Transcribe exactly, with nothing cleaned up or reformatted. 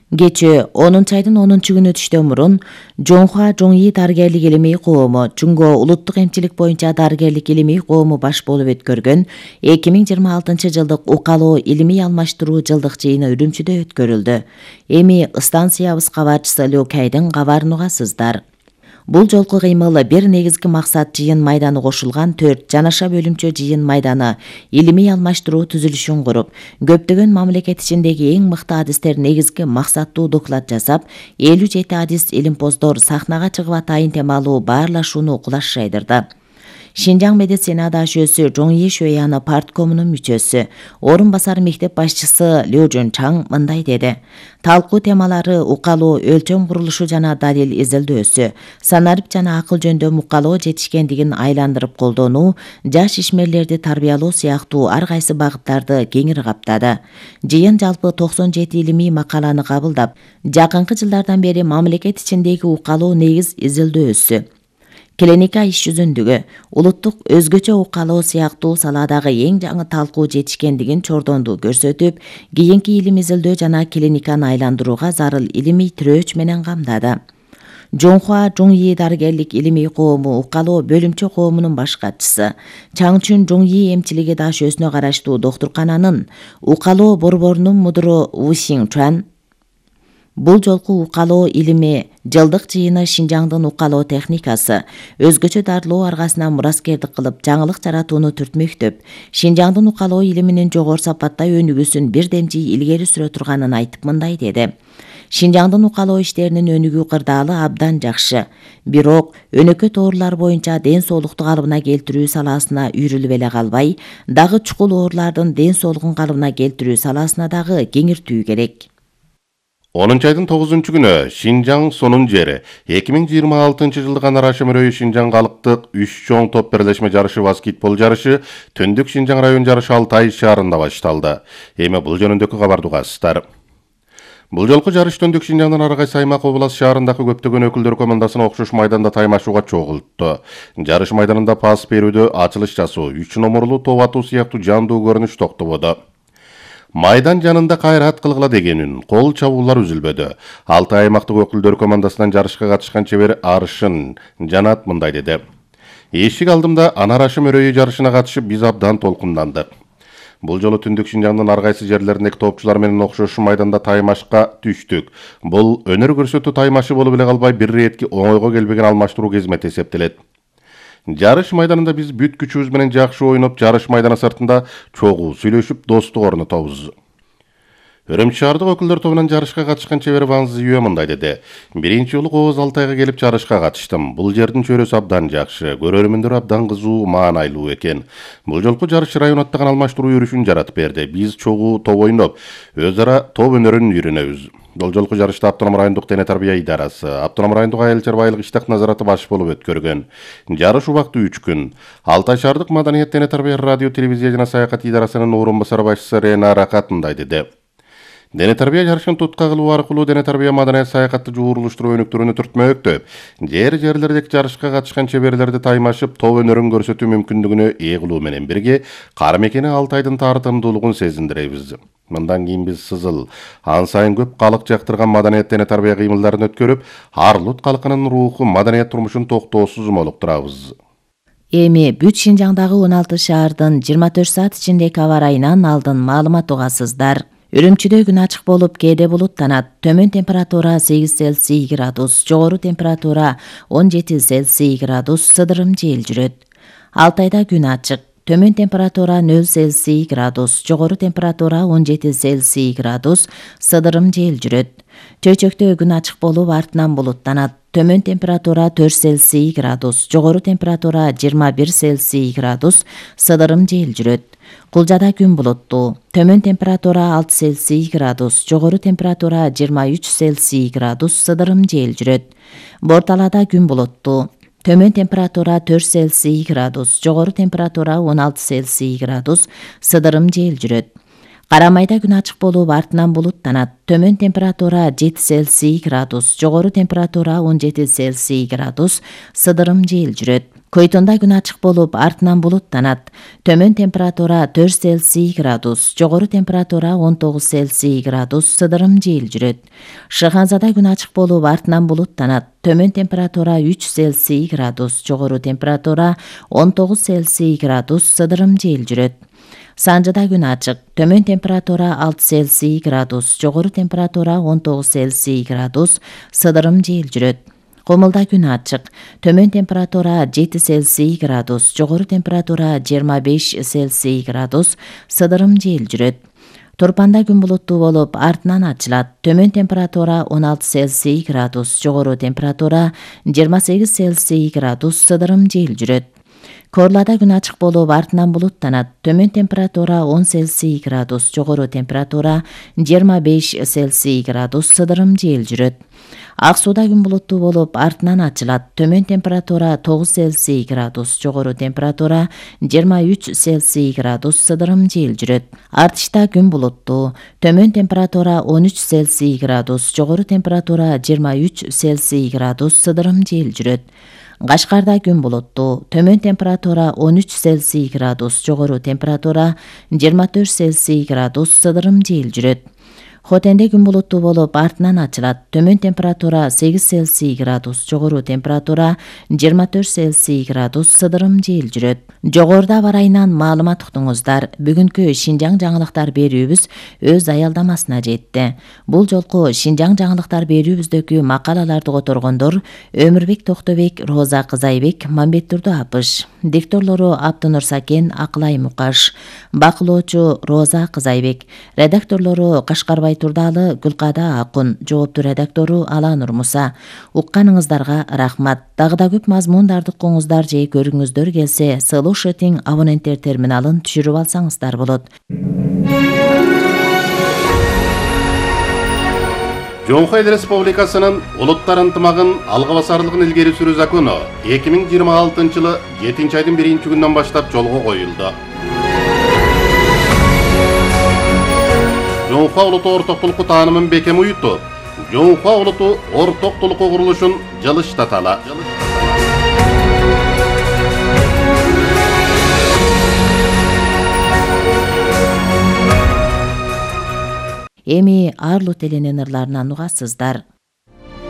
Кечээ онунчу айдын онунчу күнү түштөн мурун Жонхуа Жоңи дарыгерлик илимий коому Чүнгө улуттук эмчилик боюнча дарыгерлик илимий коому баш болуп өткөргөн эки миң жыйырма алтынчы жылдык укалоо илимий алмаштыруу жылдык жыйыны Үрүмчүдө өткөрүлдү. Эми станциябыз кабарчысы Лю Кайдын кабарын угасыздар. Бул жолку кыймыл бир негизги максат жыйын майданы кошулган төрт жанаша бөлүмчө жыйын майданы илимий алмаштыруу түзүлүшүн куруп, көптөгөн мамлекет ичиндеги эң мыкты адистер негизги максаттуу доклад жасап, элүү жети адис илимпоздор сахнага чыгып атайын темалуу баарлашууну кулаш жайдырды. Шинжаң медицина дашөөсү Жоңи Шөяны парткомунун мүчөсү, орун басар мектеп башчысы Лю Жунчаң мындай деди. Талкуу темалары укалоо өлчөм курулушу жана далил изилдөөсү, санарип жана акыл жөндөм укалоо жетишкендигин айландырып колдонуу, жаш ишмерлерди тарбиялоо сыяктуу ар кайсы багыттарды кеңири каптады. Жыйын жалпы токсон жети илимий макаланы кабылдап, жакынкы жылдардан бери мамлекет ичиндеги укалоо негиз изилдөөсү, клиника иш жүзүндүгү, улуттук өзгөчө укалоо сыяктуу саладагы эң жаңы талкуу жетишкендигин чордонду көрсөтүп, кийинки илим изилдөө жана клиниканы айландырууга зарыл илимий тирөөч менен камдады. Жонхуа Жоңи дарыгерлик илимий коому укалоо бөлүмчө коомунун баш катчысы, Чаңчүн Жоңи эмчилиги дашөөсүнө караштуу доктуркананын укалоо борборунун мудуру Ву Сиңчуан бул жолку укалоо илими жылдык жыйыны Шинжаңдын укалоо техникасы, өзгөчө дарылоо аргасына мураскердик кылып жаңылык жаратууну түртмөктөп, Шинжаңдын укалоо илиминин жогору сапатта өнүгүүсүн бирдемчи илгери сүрө турганын айтып мындай деди. Шинжаңдын укалоо иштеринин өнүгүү кырдаалы абдан жакшы. Бирок өнөкөт оорулар боюнча ден соолукту калыбына келтирүү саласына үйрүлүп эле калбай, дагы чукул оорулардын ден соолугун калыбына келтирүү саласына дагы кеңиртүү керек. онунчу айдын тогузунчу күнү Шинжаң сонун жери эки миң жыйырма алтынчы жылдык Ана Рашим Өрөйү Шинжаң калктык үч чоң топ бирлешме жарышы баскетбол жарышы Түндүк Шинжаң район жарышы Алтай шаарында башталды. Эми бул жөнүндөгү кабарды угасыздар. Бул жолку жарыш Түндүк Шинжаңдын ар кайсы аймак облас шаарындагы көптөгөн өкүлдөр командасына окшош майданда таймашууга чогултtu. Жарыш майданында пас берүүдө, ачылыш жасоо, үч номурлуу топ атуу сыяктуу жандуу көрүнүш токтободу. Майдан жанында кайрат кылгыла дегенин, кол чабуулар үзүлбөдү. Алтай аймактык өкүлдөр командасынан жарышка катышкан чебер Арышын Жанат мындай деди. Эшик алдымда Ана Рашим Өрөйү жарышына катышып, биз абдан толкундандык. Бул жолу Түндүк Шинжаңдын ар кайсы жерлериндеги топчулар менен окшош майданда таймашка түштүк. Бул өнөр көрсөтүү таймашы болуп эле калбай, бир иретки оңойго келбеген алмаштыруу кезмети эсептелет. Жарыш майданында биз бүт күчүбүз менен жакшы ойноп, жарыш майданы сыртында чогуу сүйлөшүп, достук орнотобуз. Үрүмчү шаардык өкүлдөр тобунан жарышка катышкан чебер Ван Зиюэ мындай деди. Биринчи жолу Кооз Алтайга келип жарышка катыштым. Бул жердин чөйрөсү абдан жакшы, көрөрмөндөр абдан кызуу, маанайлуу экен. Бул жолку жарыш район аттаган алмаштыруу жүрүшүн жаратып берди. Биз чогуу топ ойноп, өз ара топ өнөрүн үйрөнөбүз. Бул жолку жарышта Автоном райондук дене тарбия идарасы, Автоном райондук айыл чарбайлык иштак назараты баш болуп өткөргөн. Жарыш убакыты үч күн. Алтай шаардык маданият дене тарбия радио телевизия жана саякат идарасынын орун басар башчысы Рена Ракат мындай деди. Дене тарбия жарышын тутка кылуу аркылуу дене тарбия маданият саякатты жуурулуштуруу өнүктүрүүнү түртмөктөп, жер жерлердеги жарышка катышкан чеберлерди таймашып, топ өнөрүн көрсөтүү мүмкүндүгүнө ээ кылуу менен бирге кара мекени Алтайдын тартымдуулугун сезиндиребиз. Мындан кийин биз сызыл, ан сайын көп калык жактырган маданият дене тарбия кыймылдарын өткөрүп, Арлут калкынын руху, маданият турмушун токтоосуз молуктурабыз. Эми бүт Шинжаңдагы он алты шаардын жыйырма төрт саат ичиндеги аба ырайынан алдын маалымат угасыздар. Үрүмчүдө күн ачык болуп, кээде булуттанат. Төмөн температура сегиз Цельсий градус, жогору температура он жети Цельсий градус, сыдырым жел жүрөт. Алтайда күн ачык. Төмөн температура нөл Цельсий градус, жогору температура он жети Цельсий градус, сыдырым жел жүрөт. Чөйчөктө күн ачык болуп, артынан булуттанат. Төмөн температура төрт Цельсий градус, жогору температура жыйырма бир Цельсий градус, сыдырым жел жүрөт. Кулжада күн булуттуу. Төмөн температура алты Цельсий градус, жогору температура жыйырма үч Цельсий градус, сыдырым жел жүрөт. Борталада күн булуттуу. Төмөн температура төрт Цельсий градус, жогору температура он алты Цельсий градус, сыдырым жел жүрөт. Карамайда күн ачык болуп, артынан булуттанат. Төмөн температура жети Цельсий градус, жогору температура он жети Цельсий градус, сыдырым жел жүрөт. Койтонда күн ачык болуп, артынан булуттанат. Төмөн температура төрт Цельсий градус, жогору температура он тогуз Цельсий градус, сыдырым жел жүрөт. Шыханзада күн ачык болуп, артынан булуттанат. Төмөн температура үч Цельсий градус, жогору температура он тогуз Цельсий градус, сыдырым жел жүрөт. Санжада күн ачык. Төмөн температура алты Цельсий градус, жогору температура он тогуз Цельсий градус, сыдырым жел жүрөт. Комулда күн ачык. Төмөн температура жети Цельсий градус, жогору температура жыйырма беш Цельсий градус, сыдырым жел жүрөт. Турпанда күн булуттуу болуп, артынан ачылат. Төмөн температура он алты Цельсий градус, жогору температура жыйырма сегиз Цельсий градус, сыдырым жел жүрөт. Корлада күн ачык болуп, артынан булуттанат. Төмөн температура он Цельсий градус, жогору температура жыйырма беш Цельсий градус, сыдырым жел жүрөт. Ак сууда күн булуттуу болуп, артынан ачылат. Төмөн температура тогуз Цельсий градус, жогору температура жыйырма үч Цельсий градус, сыдырым жел жүрөт. Артышта күн булуттуу. Төмөн температура он үч Цельсий градус, жогору температура жыйырма үч Цельсий градус, сыдырым жел жүрөт. Кашкарда күн булуттуу. Төмөн температура он үч Цельсий градус, жогору температура жыйырма төрт Цельсий градус, сыдырым жел жүрөт. Хотенде күн булуттуу болуп, артынан ачылат. Төмөн температура сегиз Цельсий градус, жогору температура жыйырма төрт Цельсий градус, сыдырым жел жүрөт. Жогоруда бар айынан маалымат уктуңуздар. Бүгүнкү Шинжаң жаңылыктар берүүбүз өз аялдамасына жетти. Бул жолку Шинжаң жаңылыктар берүүбүздөгү макалаларды которгондор Өмүрбек Токтобек, Роза Кызайбек, Мамбеттурду Апыш. Дикторлору Аптынур Сакен, Акылай Мукаш. Бакылоочу Роза Кызайбек. Редакторлору Кашкарбай Турдалы, Гүлкада Акун. Жоопту редактору Аланур Муса. Укканыңыздарга рахмат. Дагы да көп мазмундарды укуңуздар же көргүңүздөр келсе, Слушатиң абоненттер терминалын түшүрүп алсаңыздар болот. Жоңхо Эл Республикасынын улуттар ынтымагын алга басарлыгын илгери сүрүү закону эки миң жыйырма алтынчы жылы жетинчи айдын биринчи күнүнөн баштап жолго коюлду. Жоңхо улуту ортоктулуку таанымын бекем уютуп, Жоңхо улуту ортоктулуку курулушун жылыштаталы. Эми Арлут элинин ырларынан угасыздар.